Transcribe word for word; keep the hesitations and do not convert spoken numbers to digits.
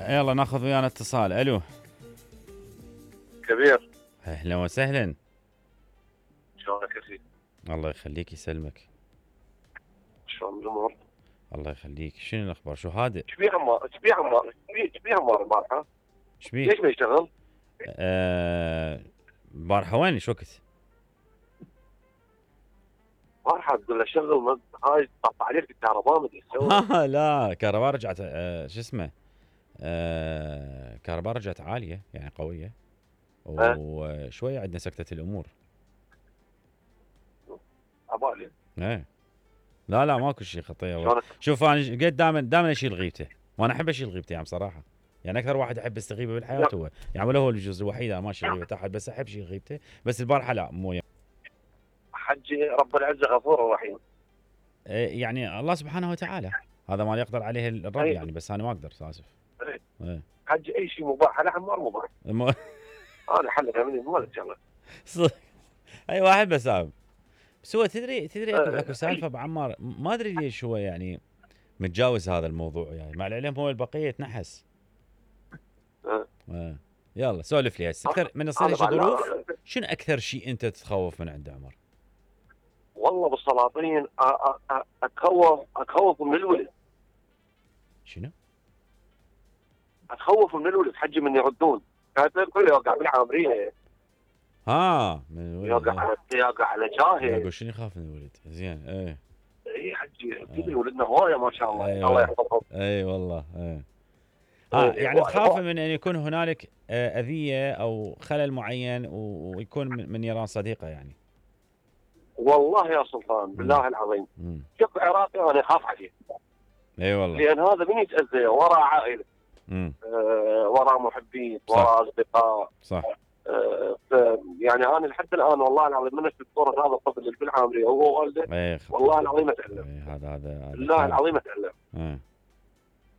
يلا ناخذ ويانا اتصال. الو كبير، اهلا وسهلا. شلونك اخي؟ الله يخليك يسلمك. شلون الامور؟ الله يخليك. شنو الاخبار؟ شو هادئ؟ ايش بيه عمار؟ ايش بيه عمار؟ ايش بيه عمار البارحه؟ ايش بيه؟ ليش ما يشتغل؟ آه، البارحه وين ايش وقت؟ البارحه تقول له شغل ما- هاي طف عليك الكهرباء ما ادري ايش تسوي. لا كهرباء رجعت، آه شو اسمه، آه كهرباء رجعت عاليه يعني قويه، وشويه عندنا سكتة الامور. عبالي ايه لا لا ماكو شيء خطيه. شلونك؟ شوف انا قد دائما دائما اشيل غيبته، وانا احب اشيل غيبته يعني بصراحه. يعني اكثر واحد احب استغيبه بالحياه هو، يعني ولا هو الجزء الوحيد انا ما اشيل غيبه احد، بس احب اشيل غيبته. بس البارحه لا مو يعني. حجي رب العزه غفور رحيم. إيه يعني الله سبحانه وتعالى، هذا ما يقدر عليه الرب أي. يعني، بس انا ما اقدر اسف. أي. ايه حجي اي شيء مباح لا عمار مباح. م... انا حلها مني ما له شغله. صدق. اي واحد بس أب. بس هو تدري تدري اكو, أه. أكو سالفه ابو عمار، ما ادري ليش هو يعني متجاوز هذا الموضوع، يعني مع العلم هو البقيه تنحس. أه. اه يلا سولف لي هسه اكثر من يصير هيك ظروف. شنو اكثر شيء انت تتخوف من عنده عمر؟ والله بالسلاطين أ- أ- أ- اتخوف اتخوف من الولد. شنو؟ اتخوف من الولد حجي من يردون. كانت الكل يوقع بالعامريه، ها من الولد. يوقع على يوقع على جاهل. اقول شنو يخاف من الولد؟ زين ايه. اي حجي تدري ولدنا هوايه ما شاء الله. أيوة. الله يحفظهم. اي والله ايه. ها إيه، يعني هو- تخاف هو- من ان يكون هنالك آه، اذيه او خلل معين و- ويكون من من نيران صديقه يعني. والله يا سلطان بالله العظيم امم شوف عراقي انا اخاف عليه، اي والله. لان هذا من يتاذى وراه عائله، امم آه وراه محبين، صح. وراه اصدقاء. صح. آه ف- يعني انا لحد الان والله العظيم من اشوف صوره هذا الطفل اللي بالعامريه وهو والده اي والله العظيم اتالم. إيه، هذا هذا هذا بالله كارثة. العظيم اتالم. إيه.